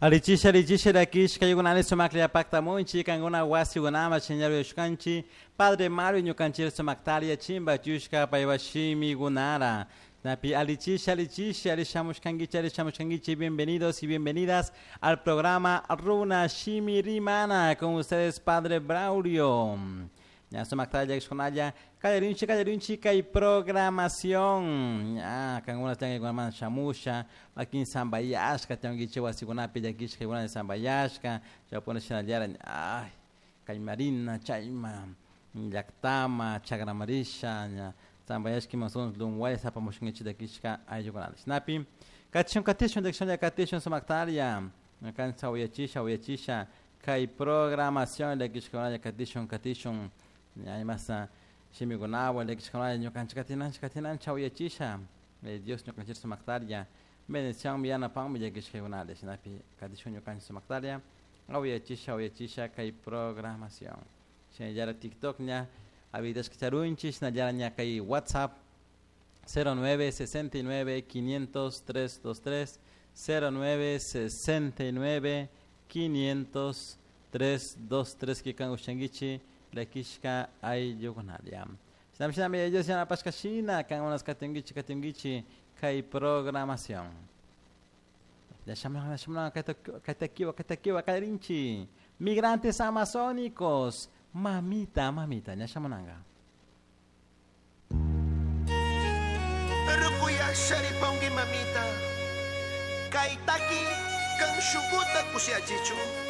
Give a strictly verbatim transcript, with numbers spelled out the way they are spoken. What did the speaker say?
Alichisha alichisha rakishka yugunani sumaklla paktamunchi kankuna wasikunama shiñarushkanchi Padre Mario ñukanchik sumaktaria chimba chushka paywa Napi alichisha alichisha alishamushkankichi alishamushkankichi bienvenidos y bienvenidas al programa Runa Shimi Rimana con ustedes Padre Braulio. Ya sumaktaria llakishkunalla kallarinchi kallarinchi kay programación. Ya kankuna tiyankikunaman shamusha wakin sambayashka tiyankichik wasikunapi llakishka kuna sambayashka chaypuna shinallara ay kaymarina chayma llaktama chagramarisha ña sambayashka imasun lunwaya sapamushkankichik llakishka ayllukunata shinapi katishun katishun llakishunlla katishun sumaktaria ñukanchik uyachisha uyachisha kay programación llakishkakunalla katishun katishun ña imasa shimikunawan llakishkakunalla ñukanchik katinanchik katinanchik uyachisha Dios ñukanchik sumaktaria bendicionmi yanapanmi llakishkakunata shinapi katishun ñukanchik sumaktaria uyachisha uyachisha kay programación shinallara TikTok ña habilitashka charunchik shinallara ña kay WhatsApp cero nueve sesenta y nueve quinientos tres dos tres cero nueve sesenta y nueve quinientos tres dos tres kikan ushankichik llakishka ayllukunalla shinami shinami Dios yanapashka shina kankunas katinkichik katinkichik kay programación kaytakiwa kaytakiwa kallarinchik migrantes amazónicos mamita mamita ña shamunanka Rukuyasharipanki mamita kaytaki kan shukuta kushiachichu.